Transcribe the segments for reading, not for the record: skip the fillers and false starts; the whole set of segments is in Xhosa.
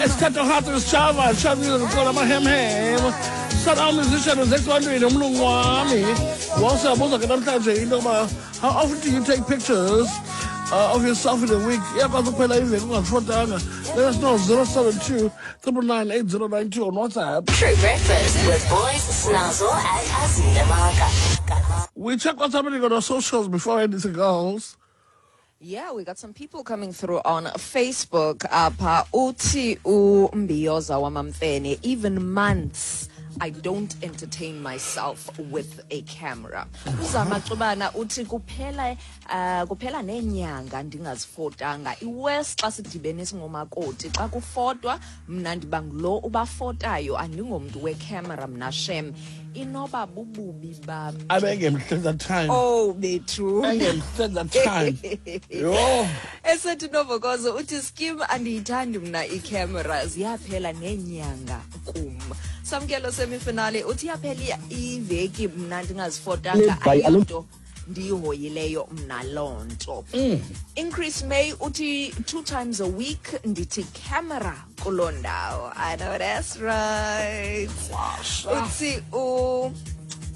Esithatha hathu sishava shavile kuxola amahemhem. South African musician uzekwantwini umlungu wami. Wawusiyabuza ke namhlanje into yokuba how often do you take pictures of yourself in a week? Iyakwazi ukuphela iveki ungazifotanga. Let us know 072 999 8092 on WhatsApp. True Breakfast with Boys, Snazzle, and Azile Maka. We check what's happening on our socials before anything else. Yeah, we got some people coming through on Facebook. Apha uthi uMbiyoza wamaMfene, even months I don't entertain myself with a camera. Uzama Cubana uthi kuphela nenyanga ndingazifotanga. Iwes xa sidibene singomakoti xa kufotwa mna ndiba ngulo ubafotayo, andingomntu wecamera mna shem. Inoba bububi bam. Abengemhle that time. Oh bethu. Engemhle that time. Yho. Esethi Novokozo uthi skim andiyithandi mna icamera, ziyaphela nenyanga kum. Samkelo semifinale uthi iyaphela iveki mna ndingazifotanga, Lebhayi alo- ayonto ndiyihoyileyo mna loo nto. Increase May uthi 2 times a week ndithi camera kuloo ndawo. I know that's right. Uthi u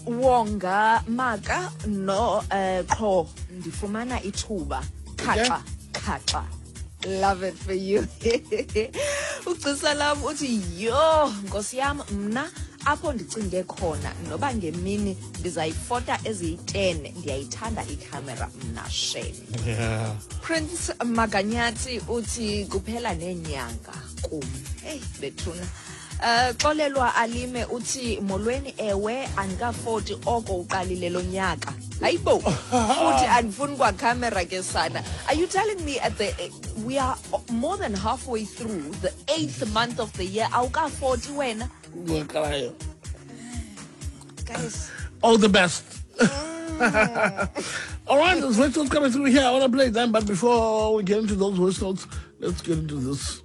Wonga Maka no qho ndifumana ithuba khaxa khaxa. Love it for you. Ugcisa lam uthi yho nkosi yam mna apho ndicinge khona noba ngemini ndizayifota eziyi-10, ndiyayithanda ikhamera mna shame. Prince Maganyati uthi kuphela nenyanga kum. Hey bethuna. Xolelwa Alime uthi molweni, ewe andikafoti oko uqalile lo nyaka. Hayibo, futhi andifuni kwa camera ke sana. Are you telling me at the we are more than halfway through the 8th month of the year awukafoti wena? Ngiyaqalayo. Guys. All the best. All right, there's voice notes coming through here. I want to play them, but before we get into those voice notes, let's get into this.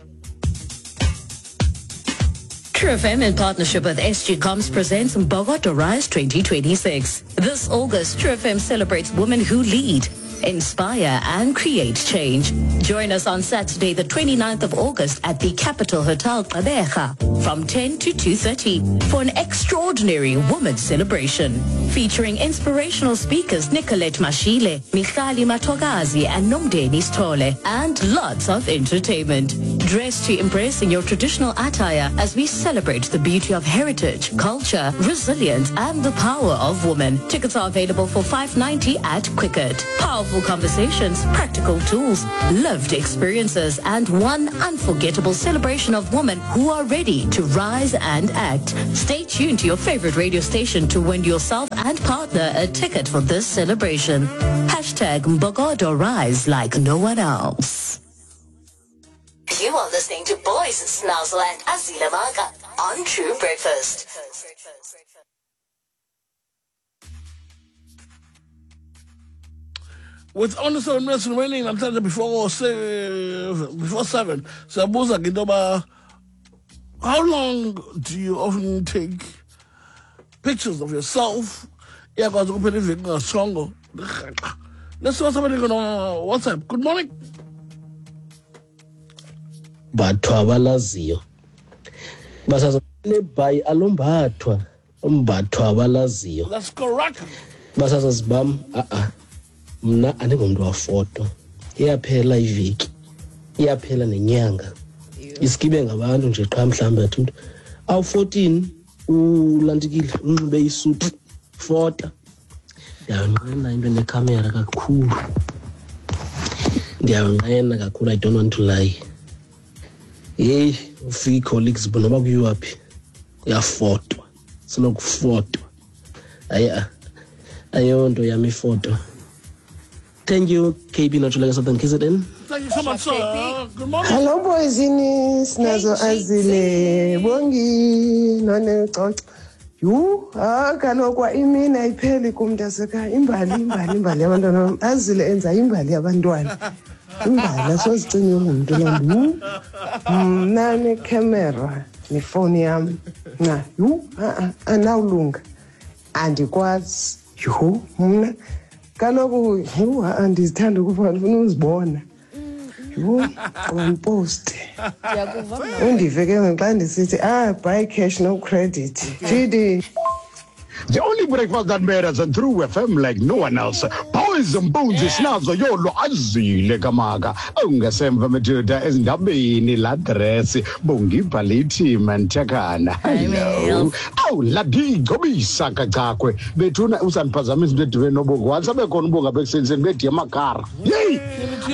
True FM in partnership with SG Comms presents Mbokodo Rise 2026. This August, True FM celebrates women who lead, inspire and create change. Join us on Saturday, the 29th of August at the Capital Hotel Gqeberha from 10 to 2:30 for an extraordinary women's celebration featuring inspirational speakers Nicolette Mashile, Michali Matogazi and Nomdeni Stole, and lots of entertainment. Dress to impress in your traditional attire as we celebrate the beauty of heritage, culture, resilience and the power of women. Tickets are available for $5.90 at Quicket. Powerful conversations, practical tools, lived experiences, and one unforgettable celebration of women who are ready to rise and act. Stay tuned to your favorite radio station to win yourself and partner a ticket for this celebration. Hashtag Mbokodo Rise like no one else. You are listening to Boys, Snazzle and Azile Maka on True Breakfast. With only 7 minutes remaining namhlanje before 7, siyabuza ke into yoba how long do you often take pictures of yourself? Iyakwazi ukuphela iveki ungasongo. Let's see what's happening on WhatsApp. Good morning. Batho abalaziyo basaza lebhayi alombathwa umbatho abalaziyo. That's correct. Basazazi bam, a-a mna andingomntu wafoto. Iyaphela iveki, iyaphela nenyanga, iskibe ngabantu nje qha. Mhlawumbi athi umntu awu-14 ulantikile unxibe isuti fota. Ndiyayonqena into nekhamera kakhulu, ndiyayonqena kakhulu. I don't want to lie. Yeyi, ufika ii-colleagues noba kuyiwa phi kuyafotwa, selokufotwa. Hayi, ayonto yam ifoto. Thank you, KB Notshuleka, Southern KZN. Thank you so much, sir. Good morning. Hello boysini, sinazo Azile, Bongi, none coco. Yhu, ah kaloku kwa imini ayipheli kum mntasekhaya. Imbali, imbali, imbali yabantwana bam. Azile enza imbali yabantwana. Imbali asozicinye ungumntu loo nto. Yhu, mna nekhamera nefowuni yam. Nca, yhu, a-a, andinawulunga. Andikwazi. Yhu, mna kaloku yhu, a-a, ndizithanda ukuba ndifuna uzibona. Yhu, qompost. Ndiyakuva mna. Undive ke ngoku xa ndisithi ah buy cash no credit. GD. The only breakfast that matters and True FM like no one else. Boys and Bones sinazo yolo azile kamaka. Awungasemva madoda ezindabeni la dress bongibhalithi manthakana. Hello. Awu ladigobisa kacakwe. Bethuna usandiphazamisa into edibene nobongo. Once abe khona ubonga bekusenzeni bediye amakara. Yeyi!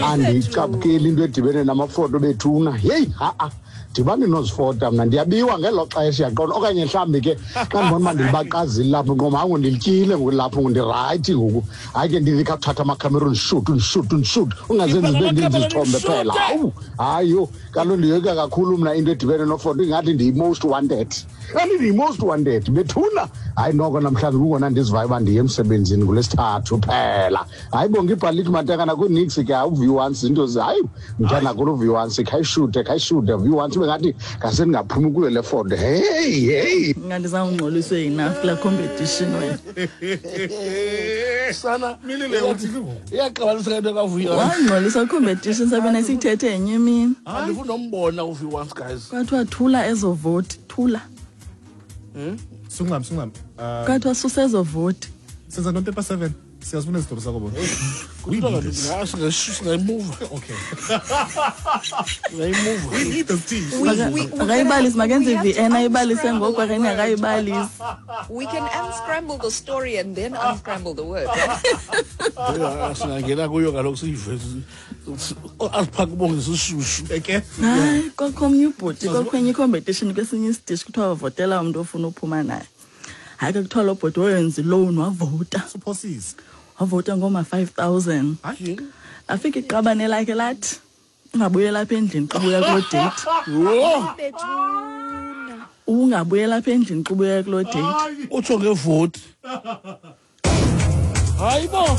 Andicaphukeli into edibene namafoto bethuna. Yeyi, ha-a. Ndibani nozifota mna ndiyabiwa ngelo xesha yaqona okanye mhlawumbi ke xa ndibona uba ndilibaqazile lapho ngoma hayi ndilityile ngoku lapho ndirayithi ngoku hayi ke ndithi khawuthatha amakhamera undishuti undishuti undishuti ungazenzi zibe ninzi izithombe phela. Hawu, hayi yho, kaloku ndiyoyika kakhulu mna into edibene nofoto, ingathi ndiyi-most wanted, kanti ndiyi-most wanted bethuna. Hayi noko namhlanje kungona ndizivayo uba ndiye emsebenzini ngolwesithathu phela. Hayi bonke ibhalithi mantakana kunix ke awuvi once into hayi mntana kulo uvi once khayishute khayishute vi once ube ngathi ngase ndingaphumi kuyo le foto. Hey hey, Ngandizawungxoliswe enough kulaa competition wena. Sana. Milile uthi ke ngoku. Iyaxabanisa into kavuya. Wangxolisa competition sabena siyithethe enye imini. Andifuna umbona uvi once guys. Kwathiwa thula ezo voti, thula. Sungam sungam. Kwathiwa susa ezo voti. Senza ntoni paper 7? Siyazifuna izitori zakho bona. We need this. Singayimuva. Okay. Singayimuva. We need this tea. Akayibalisi makenze We have to i-VN ayibalise unscramble ngoku the okanye word. akayibalisi. We can unscramble the story and then unscramble the word. Singangena kuyo kaloku siyive. Asiphake ubonge sishushu. Eke. Hayi, kwakho omnye ubhuti, kwakho enye i-competition kwesinye isitishi kuthiwa wavotela umntu ofuna uphuma naye. Hayi ke kuthiwa lo bhuti wayenza iloan wavota. Suphosisa. Wavota ngoma-5,000. Hayi. Afika iqabane lakhe lathi ungabuyela apha endlini xa ubuya kuloo date. Yho! Bethuna. Ungabuyela apha endlini xa ubuya kuloo date. Utsho ngevoti. Hayi bo.